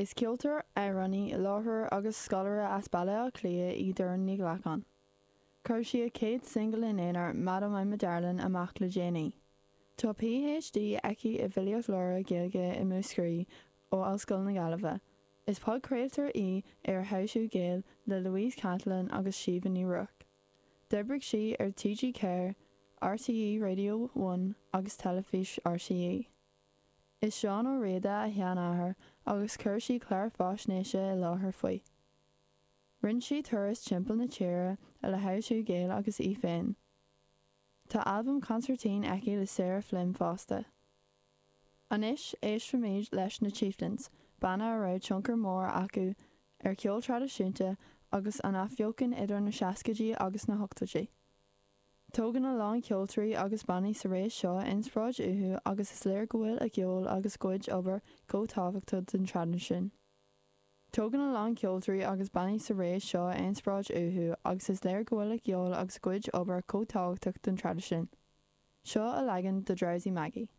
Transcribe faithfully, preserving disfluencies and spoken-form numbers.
Is ceoltóir, amhránaí, láithreoir agus scoláire as Baile Átha Cliath í Doireann Ní Ghlacáin. Chuir sí a céad singil ina aonar Madam I'm a Darling amach le déanaí. Tá PhD aici i bhfilíocht Labhartha Gaeilge i Múscraí ó Ollscoil na Gaillimhe. Is podchraoltóir í ar How To Gael le Louise Cantillon agus Síomha Ní Ruairc. D'oibrigh sí ar TG Ceathair, RTÉ Radio One agus Teilifís RTÉ. Is Seán Ó Riada a sheanathair agus chuir sí clár faisnéise i láthair faoi. Rinne sí turas timpeall na tíre le How To Gael agus í féin. Tá albam consairtín aici le Sarah Flynn fosta. Anois éistfimid leis na Chieftains, banna a raibh tionchar mór acu ar cheol traidisiúnta agus an athbheochan idir na seascaidí agus na hochtóidí. Tógann a lán ceoltóirí agus bannaí sa ré seo inspioráid uathu agus is léir go bhfuil a gceol agus a gcuid obair chomh tábhachtach don traidisiún. Tógann a lán ceoltóirí agus bannaí sa ré seo inspioráid uathu agus is léir go bhfuil a gceol agus a gcuid obair chomh tábhachtach don traidisiún. Seo a leagan de Drowsy Maggie.